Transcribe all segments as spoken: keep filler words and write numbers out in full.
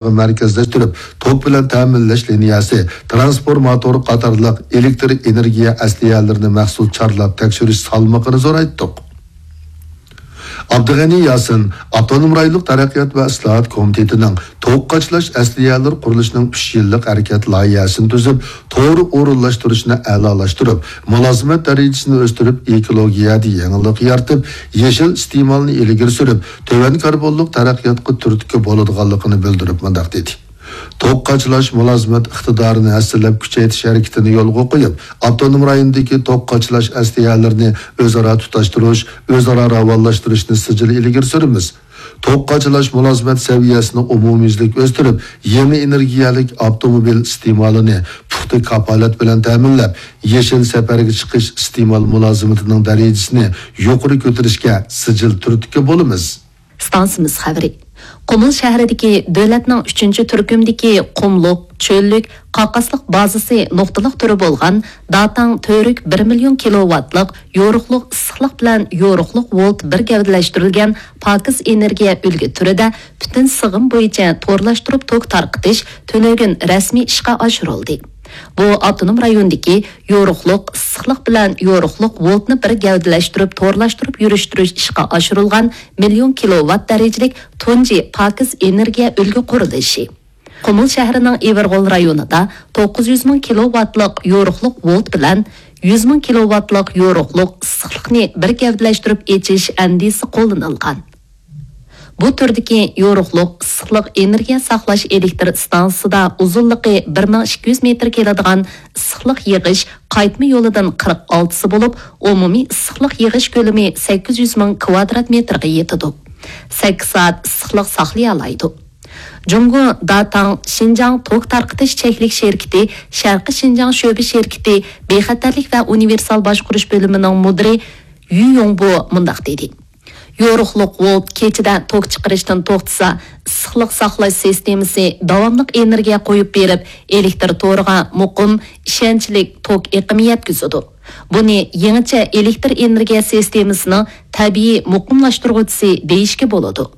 مەركەزلەشتۈرۈپ، توك بىلەن تەمىنلەش لىنىيەسى، ترانسفورماتور قاتارلىق ئېلېكتر ئېنېرگىيە ئەسلىھەلىرىنى مەخسۇس چارلاپ تەكشۈرۈش سالمىقىنى زورايتتۇق. ئابدۇغېنى ياسىن ئاپتونوم رايونلۇق تەرەققىيات ۋە ئىسلاھات كومىتېتىنىڭ توك قاچىلاش ئەسلىھەلىرى قۇرۇلۇشىنىڭ ئۈچ يىللىق ھەرىكەت لايىھەسىنى تۈزۈپ، توغرا ئورۇنلاشتۇرۇشنى ئەلالاشتۇرۇپ، مۇلازىمەت دەرىجىسىنى ئۆستۈرۈپ، ئېكولوگىيەدە يېڭىلىق يارىتىپ، يېشىل ئىستېمالنى ئىلگىرى سۈرۈپ، تۆۋەن كاربونلۇق تەرەققىياتقا تۈرتكە بولىدىغانلىقىنى بىلدۈرۈپ مۇنداق دېدى: توك قاچىلاش مۇلازىمەت ئىقتىدارىنى ھەسسىلەپ كۈچەيتىش ھەرىكىتىنى يولغا قويۇپ، ئاپتونوم رايوندىكى توك قاچىلاش ئەسلىھەلىرىنى ئۆزئارا تۇتاشتۇرۇش، ئۆزئارا راۋانلاشتۇرۇشنى سىجىل ئىلگىرى سۈرىمىز. توك قاچىلاش مۇلازىمەت سەۋىيەسىنى ئومۇميۈزلۈك ئۆستۈرۈپ، يېڭى ئېنېرگىيەلىك ئاپتوموبىل ئىستېمالىنى پۇختا كاپالەت بىلەن تەمىنلەپ، يېشىل سەپەرگە چىقىش ئىستېمال مۇلازىمىتىنىڭ دەرىجىسىنى يۇقىرى كۆتۈرۈشكە سىجىل تۈرتكە بولىمىز. ئىستانسىمىز خەۋىرى. قۇمۇل شەھىرىدىكى دۆلەتنىڭ ئۈچىنچى تۈركۈمدىكى قۇملۇق، چۆللۈك، قاقاسلىق بازىسى نۇقتىلىق تۈرى بولغان داتاڭ تۈرك بىر مىليون كىلوۋاتلىق يورۇقلۇق ئىسسىقلىق بىلەن يورۇقلۇق ۋولت بىر گەۋدىلەشتۈرۈلگەن پاكىز ئېنېرگىيە ئۈلگە تۈرىدە پۈتۈن سىغىم بويىچە تورلاشتۇرۇپ توك تارقىتىش تۈنۈگۈن رەسمىي ئىشقا ئاشۇرۇلدى. بۇ ئاپتونوم رايوندىكى يورۇقلۇق ئىسسىقلىق بىلەن يورۇقلۇق ۋولتنى بىر گەۋدىلەشتۈرۈپ تورلاشتۇرۇپ يۈرۈشتۈرۈش ئىشقا ئاشۇرۇلغان مىليون كىلوۋات دەرىجىلىك تۇنجى پاكىز ئېنېرگىيە ئۈلگە قۇرۇلۇشى. قۇمۇل شەھىرىنىڭ ئىۋىرغول رايونىدا توققۇز يۈز مىڭ كىلوۋاتلىق يورۇقلۇق ۋولت بىلەن يۈز مىڭ كىلوۋاتلىق يورۇقلۇق ئىسسىقلىقنى بىر گەۋدىلەشتۈرۈپ ئېچىش ئەندىزىسى قوللىنىلغان. بۇ تۈردىكى يورۇقلۇق ئىسسىقلىق ئېنېرگىيە ساقلاش ئېلېكتر ئىستانسىسىدا ئۇزۇنلۇقى بىر مىڭ ئىككى يۈز مېتىر كېلىدىغان ئىسسىقلىق يىغىش قايتما يولىدىن قىرىق ئالتىسى بولۇپ، ئومۇمىي ئىسسىقلىق يىغىش كۆلىمى سەككىز يۈز مىڭ كىۋادرات مېتىرغا يېتىدۇ. سەككىز سائەت ئىسسىقلىق ساقلىيالايدۇ. جۇڭگو داتاڭ شىنجاڭ توك تارقىتىش چەكلىك شىركىتى شەرقىي شىنجاڭ شۆبە شىركىتى بىخەتەرلىك ۋە ئۇنىۋېرسال باشقۇرۇش بۆلۈمىنىڭ مۇدىرى يۈ يوڭبو مۇنداق دېدى: يورۇقلۇق ۋولت كېچىدە توك چىقىرىشتىن توختىسا، ئىسسىقلىق ساقلاش سىستېمىسى داۋاملىق ئېنېرگىيە قويۇپ بېرىپ، ئېلېكتر تورىغا مۇقىم، ئىشەنچلىك توك ئېقىمى يەتكۈزىدۇ. بۇنى يېڭىچە ئېلېكتر ئېنېرگىيە سىستېمىسىنىڭ تەبىئىي مۇقىملاشتۇرغۇچىسى دېيىشكە بولىدۇ.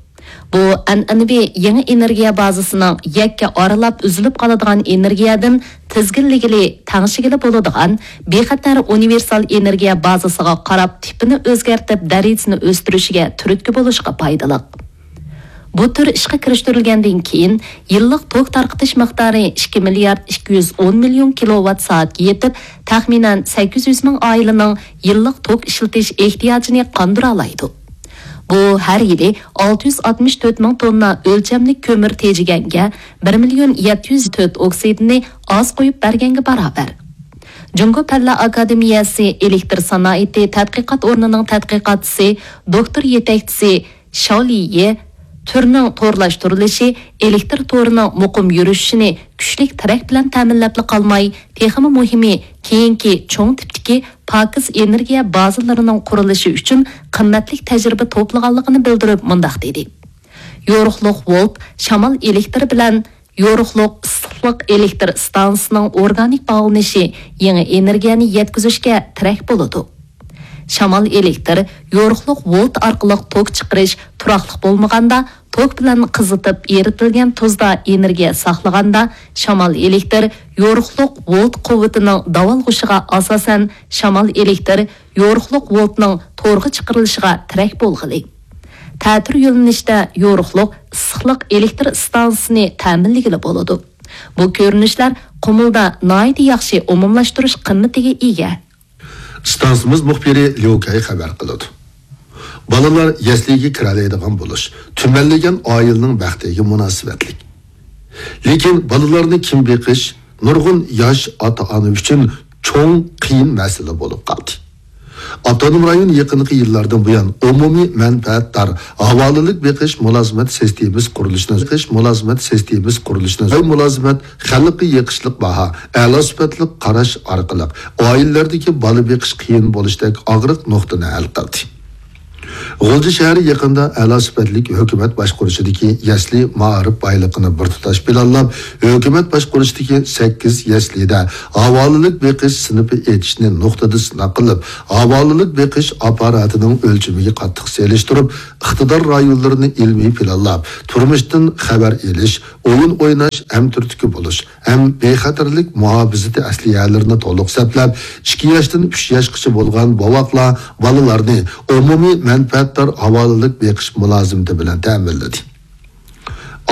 بۇ ئەنئەنىۋى يېڭى ئېنېرگىيە بازىسىنىڭ يەككە ئارىلاپ ئۈزۈلۈپ قالىدىغان ئېنېرگىيەدىن تىزگىنلىگىلى، تەڭشىگىلى بولىدىغان بىخەتەر ئۇنىۋېرسال ئېنېرگىيە بازىسىغا قاراپ تىپىنى ئۆزگەرتىپ دەرىجىسىنى ئۆستۈرۈشىگە تۈرتكە بولۇشقا پايدىلىق. بۇ تۈر ئىشقا كىرىشتۈرۈلگەندىن كېيىن، يىللىق توك تارقىتىش مىقدارى ئىككى مىليارد ئىككى يۈز ئون مىليون كىلوۋات سائەتكە يېتىپ، تەخمىنەن سەككىز يۈز مىڭ ئائىلىنىڭ يىللىق توك ئىشلىتىش ئېھتىياجىنى قاندۇرالايدۇ. بۇ ھەر يىلى ئالتە يۈز ئاتمىش تۆت مىڭ توننا ئۆلچەملىك كۆمۈر تېجىگەنگە بىر مىليون يەتتە يۈز تۆت ئوكسىدىنى ئاز قويۇپ بەرگەنگە باراۋەر. جۇڭگو پەنلەر ئاكادېمىيەسى ئېلېكتر سانائىتى تەتقىقات ئورنىنىڭ تەتقىقاتچىسى دوكتور يېتەكچىسى شاۋ لىيې تۈرنىڭ تورلاشتۇرۇلۇشى ئېلېكتر تورىنىڭ مۇقىم يۈرۈشۈشىنى كۈچلۈك تىرەك بىلەن تەمىنلەپلا قالماي، تېخىمۇ مۇھىمى، كېيىنكى چوڭ تىپتىكى پاكىز ئېنېرگىيە بازىلىرىنىڭ قۇرۇلۇشى ئۈچۈن قىممەتلىك تەجرىبە توپلىغانلىقىنى بىلدۈرۈپ مۇنداق دېدى: يورۇقلۇق ۋولت، شامال ئېلېكتىرى بىلەن يورۇقلۇق ئىسسىقلىق ئېلېكتىر ئىستانسىسىنىڭ ئورگانىك باغلىنىشى يېڭى ئېنېرگىيەنى يەتكۈزۈشكە تىرەك بولىدۇ. شامال ئېلېكتىر يورۇقلۇق ۋولت ئارقىلىق توك چىقىرىش تۇراقلىق بولمىغاندا، توك بىلەن قىزىتىپ ئېرىتىلگەن تۇزدا ئېنېرگىيە ساقلىغاندا، شامال ئېلېكتىر يورۇقلۇق ۋولت قۇۋۋىتىنىڭ داۋالغۇشىغا ئاساسەن، شامال ئېلېكتىر يورۇقلۇق ۋولتنىڭ تورغا چىقىرىلىشىغا تىرەك بولغىلى. تەتۈر يۆنىلىشتە يورۇقلۇق ئىسسىقلىق ئېلېكتر ئىستانسىسىنى تەمىنلىگىلى بولىدۇ. بۇ كۆرۈنۈشلەر قۇمۇلدا ناھايىتى ياخشى ئومۇملاشتۇرۇش قىممىتىگە ئىگە. ئىستانسىمىز مۇخبىرى ليۇ كەي خەۋەر قىلىدۇ. بالىلار يەسلىگە كىرەلەيدىغان بولۇش تۈمەنلىگەن ئائىلىنىڭ بەختىگە مۇناسىۋەتلىك. لېكىن بالىلارنى كىم بېقىش نۇرغۇن ياش ئاتا-ئانا ئۈچۈن چوڭ قىيىن مەسىلە بولۇپ قالدى. ئاپتونوم رايون يېقىنقى يىللاردىن بۇيان ئومۇمىي مەنپەئەتدار ھاۋالىلىك بېقىش مۇلازىمەت سىستېمىسى قۇرۇلۇشىنى، بېقىش مۇلازىمەت سىستېمىسى قۇرۇلۇشىنى، مۇلازىمەت خەلققە يېقىشلىق باھا، ئەلا سۈپەتلىك قاراش ئارقىلىق ئائىلىلەردىكى بالا بېقىش قىيىن بولۇشتەك ئاغرىق نۇقتىنى ھەل قىلدى. غۇلجا شەھىرى يېقىندا ئەلا سۈپەتلىك ھۆكۈمەت باشقۇرۇشىدىكى يەسلى مائارىپ بايلىقىنى بىر تۇتاش پىلانلاپ، ھۆكۈمەت باشقۇرۇشىدىكى سەككىز يەسلىدە ھاۋالىلىك بېقىش سىنىپى ئېچىشنى نۇقتىدا سىناق قىلىپ، ھاۋالىلىك بېقىش ئاپپاراتىنىڭ ئۆلچىمىگە قاتتىق سېلىشتۇرۇپ، ئىقتىدار رايونلىرىنى ئىلمىي پىلانلاپ، تۇرمۇشتىن خەۋەر ئېلىش، ئويۇن ئويناش، ئەمتۈرتكە بولۇش، ھەم بىخەتەرلىك مۇھاپىزىتى ئەسلىھەلىرىنى تولۇق سەپلەپ، ئىككى ياشتىن ئۈچ ياشقىچە بولغان بوۋاقلار، بالىلارنى ئومۇمىي مەنپەئەتدار ھاۋالىلىك بېقىش مۇلازىمىتى بىلەن تەمىنلىدى.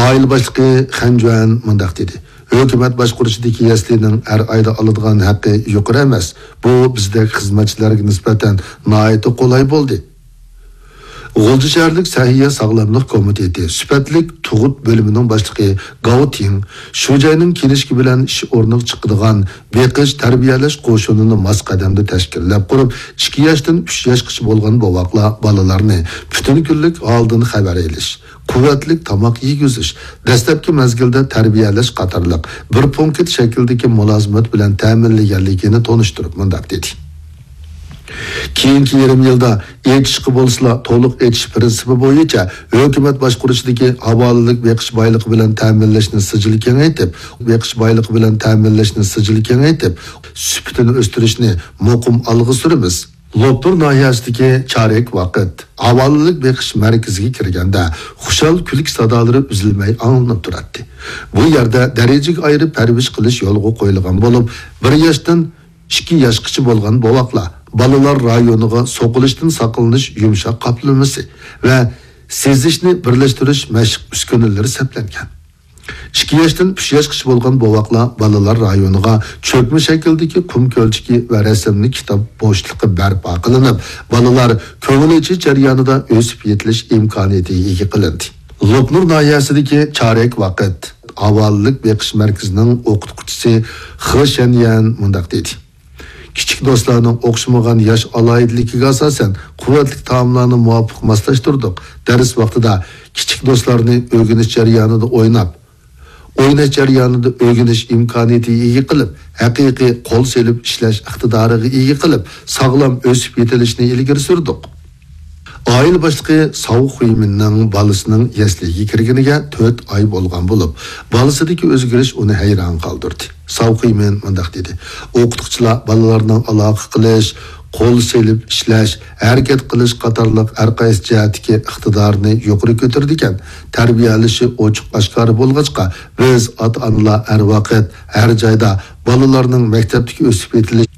ئائىلە باشلىقى خەن جۈەن مۇنداق دېدى: ھۆكۈمەت باشقۇرۇشىدىكى يەسلىنىڭ ھەر ئايدا ئالىدىغان ھەققى يۇقىرى ئەمەس. بۇ بىزدەك خىزمەتچىلەرگە نىسبەتەن ناھايىتى قولاي بولدى. غۇلجا شەھەرلىك سەھىيە ساغلاملىق كومىتېتى سۈپەتلىك تۇغۇت بۆلۈمىنىڭ باشلىقى گاۋ تىڭ شۇجەينىڭ كېلىشى بىلەن ئىش ئورنىغا چىقىدىغان بېقىش، تەربىيەلەش قوشۇنىنى ماس قەدەمدە تەشكىللەپ قۇرۇپ، ئىككى ياشتىن ئۈچ ياشقىچە بولغان بوۋاقلار، بالىلارنى پۈتۈن كۈنلۈك ھالدىن خەۋەر ئېلىش، قۇۋۋەتلىك تاماق يېگۈزۈش، دەسلەپكى مەزگىلدە تەربىيەلەش قاتارلىق بىر پونكىت شەكلىدىكى مۇلازىمەت بىلەن تەمىنلىگەنلىكىنى تونۇشتۇرۇپ مۇنداق دېدى: كېيىنكى يېرىم يىلدا ئېچىشقا بولسىلا تولۇق ئېچىش پىرىنسىپى بويىچە ھۆكۈمەت باشقۇرۇشىدىكى ھاۋالىلىك بېقىش بايلىقى بىلەن تەمىنلەشنى سىجىل كېڭەيتىپ، بېقىش بايلىقى بىلەن تەمىنلەشنى سىجىل كېڭەيتىپ، سۈپىتىنى ئۆستۈرۈشنى مۇقىم ئالغا سۈرىمىز. لوپنۇر ناھىيەسىدىكى چارەك ۋاقىت ھاۋالىلىك بېقىش مەركىزىگە كىرگەندە خۇشال كۈلكە سادالىرى ئۈزۈلمەي ئاڭلىنىپ تۇراتتى. بۇ يەردە دەرىجىگە ئايرىپ پەرۋىش قىلىش يولغا قويۇلغان بولۇپ، بىر ياشتىن ئىككى ياشقىچە بولغان بوۋاقلار، بالىلار رايونىغا سوقۇلۇشتىن ساقلىنىش يۇمشاق قاپلىمىسى ۋە سېزىشنى بىرلەشتۈرۈش مەشىق ئۈسكۈنىلىرى سەپلەنگەن. ئىككى ياشتىن ئۈچ ياشقىچە بولغان بوۋاقلار بالىلار رايونىغا چۆكمە شەكىلدىكى قۇم كۆلچىكى ۋە رەسىملىك كىتاب بوشلۇقى بەرپا قىلىنىپ، بالىلار كۆڭۈل ئېچىش جەريانىدا ئۆسۈپ يېتىلىش ئىمكانىيىتىگە ئىگە قىلىندى. لوپنۇر ناھىيەسىدىكى چارەك ۋاقىت ھاۋالىلىك بېقىش مەركىزىنىڭ ئوقۇتقۇچىسى خې شەنيەن مۇنداق دېدى: كىچىك دوستلارنىڭ ئوخشىمىغان ياش ئالاھىدىلىكىگە ئاساسەن، قۇۋۋەتلىك تائاملارنى مۇۋاپىق ماسلاشتۇردۇق. دەرس ۋاقتىدا كىچىك دوستلارنى ئۆگىنىش جەريانىدا ئويناپ، ئويناش جەريانىدا ئۆگىنىش ئىمكانىيىتىگە ئىگە قىلىپ، ھەقىقىي قول سېلىپ ئىشلەش ئىقتىدارىغا ئىگە قىلىپ، ساغلام ئۆسۈپ يېتىلىشنى ئىلگىرى سۈردۇق. ئائىلە باشلىقى ساۋ خۇيمىننىڭ بالىسىنىڭ يەسلىگە كىرگىنىگە تۆت ئاي بولغان بولۇپ، بالىسىدىكى ئۆزگىرىش ئۇنى ھەيران قالدۇردى. ساۋ خۇيمىن مۇنداق دېدى: ئوقۇتقۇچىلار بالىلارنىڭ ئالاقە قىلىش، قول سېلىپ ئىشلەش، ھەرىكەت قىلىش قاتارلىق ھەر قايسى جەھەتتىكى ئىقتىدارىنى يۇقىرى كۆتۈرىدىكەن. تەربىيەلىشى ئوچۇق ئاشكارا بولغاچقا، بىز ئاتا-ئانىلار ھەر ۋاقىت، ھەر جايدا بالىلارنىڭ مەكتەپتىكى ئۆسۈپ يېتىلىش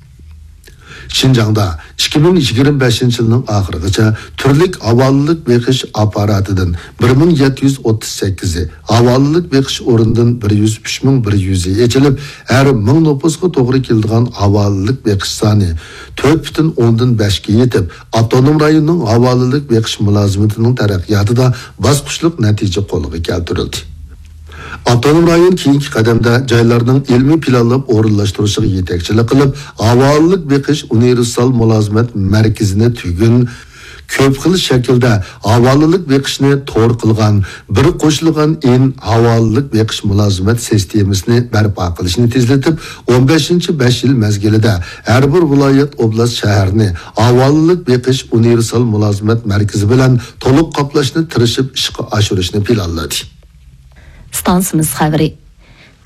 شىنجاڭدا ئىككى مىڭ يىگىرمە بەشىنچى يىلنىڭ ئاخىرىغىچە تۈرلۈك ھاۋالىلىك بېقىش ئاپپاراتىدىن بىر مىڭ يەتتە يۈز ئوتتۇز سەككىزى، ھاۋالىلىك بېقىش ئورنىدىن بىر يۈز ئۈچ مىڭ بىر يۈزى ئېچىلىپ، ھەر مىڭ نوپۇسقا توغرا كېلىدىغان ھاۋالىلىك بېقىش سانى تۆت پۈتۈن ئوندىن بەشكە يېتىپ، ئاپتونوم رايوننىڭ ھاۋالىلىك بېقىش مۇلازىمىتىنىڭ تەرەققىياتىدا باسقۇچلۇق نەتىجە قولغا كەلتۈرۈلدى. ئاپتونوم رايون كېيىنكى قەدەمدە جايلارنىڭ ئىلمىي پىلانلاپ ئورۇنلاشتۇرۇشىغا يېتەكچىلىك قىلىپ، ھاۋالىلىك بېقىش ئۇنىۋېرسال مۇلازىمەت مەركىزىنى تۈگۈن كۆپ خىل شەكىلدە ھاۋالىلىك بېقىشنى تور قىلغان بىر قوشۇلغان ئىن ھاۋالىلىك بېقىش مۇلازىمەت سىستېمىسىنى بەرپا قىلىشنى تېزلىتىپ، ئون بەشىنچى بەش يىل مەزگىلىدە ھەر بىر ۋىلايەت، ئوبلاست، شەھەرنى ھاۋالىلىك بېقىش ئۇنىۋېرسال مۇلازىمەت مەركىزى بىلەن تولۇق قاپلاشنى تىرىشىپ ئىشقا ئاشۇرۇشنى پىلانلىدى. ئىستانسىمىز خەۋىرى.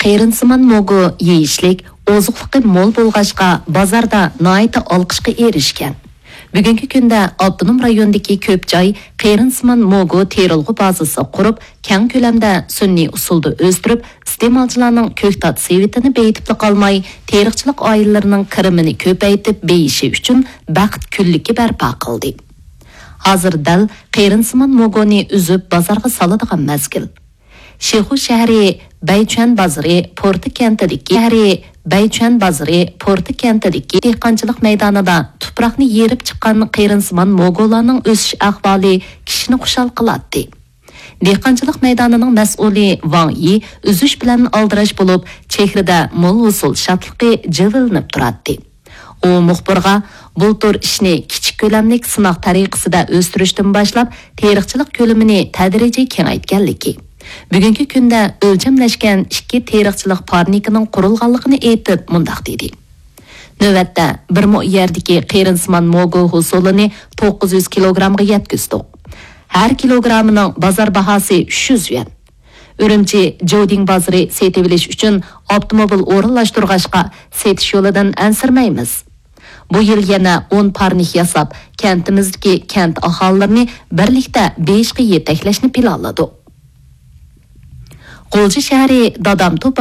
قېرىندىسىمان موگو يېيىشلىك، ئوزۇقلۇقى مول بولغاچقا، بازاردا ناھايىتى ئالقىشقا ئېرىشكەن. بۈگۈنكى كۈندە ئاپتونوم رايوندىكى كۆپ جاي قېرىندىسىمان موگو تېرىلغۇ بازىسى قۇرۇپ، كەڭ كۆلەمدە سۈنئىي ئۇسۇلدا ئۆستۈرۈپ، ئىستېمالچىلارنىڭ كۆكتات سېۋىتىنى بېيىتىپلا قالماي، تېرىقچىلىق ئائىلىلىرىنىڭ كىرىمىنى كۆپەيتىپ بېيىشى ئۈچۈن بەخت كۈنلۈكى بەرپا قىلدى. ھازىر دەل قېرىندىسىمان موگونى ئۈزۈپ بازارغا سالىدىغان مەزگىل. شىخۇ شەھىرى بەيچۈەن بازىرى پورتى كەنتىدىكى، شەھىرى بەيچۈەن بازىرى پورتى كەنتىدىكى دېھقانچىلىق مەيدانىدا تۇپراقنى يېرىپ چىققان قېرىندىسىمان موگولارنىڭ ئۆسۈش ئەھۋالى كىشىنى خۇشال قىلاتتى. دېھقانچىلىق مەيدانىنىڭ مەسئۇلى ۋاڭ يى ئۈزۈش بىلەن ئالدىراش بولۇپ، چېھرىدە مول ھوسۇل شادلىقى جىلۋىلىنىپ تۇراتتى. ئۇ مۇخبىرغا بۇلتۇر ئىشنى كىچىك كۆلەملىك سىناق تەرىقىسىدە ئۆستۈرۈشتىن باشلاپ، تېرىقچىلىق كۆلىمىنى تەدرىجىي كېڭەيتكەنلىكى، بۈگۈنكى كۈندە ئۆلچەملەشكەن ئىككى تېرىقچىلىق پارنىكىنىڭ قۇرۇلغانلىقىنى ئېيتىپ، مۇنداق دېدى: نۆۋەتتە بىر مو يەردىكى قېرىندىسىمان موگو ھوسۇلىنى توققۇز يۈز كىلوگرامغا يەتكۈزدۇق. ھەر كىلوگرامىنىڭ بازار باھاسى ئۈچ يۈز يۈەن. ئۈرۈمچى جودىڭ بازىرى سېتىۋېلىش ئۈچۈن ئاپتوموبىل ئورۇنلاشتۇرغاچقا، سېتىش يولىدىن ئەنسىرىمەيمىز. بۇ يىل يەنە ئون پارنىك ياساپ، كەنتىمىزدىكى كەنت ئاھالىلىرىنى بىرلىكتە بېيىشقا يېتەكلەشنى پىلانلىدۇق. غۇلجا شەھىرى دادام توپى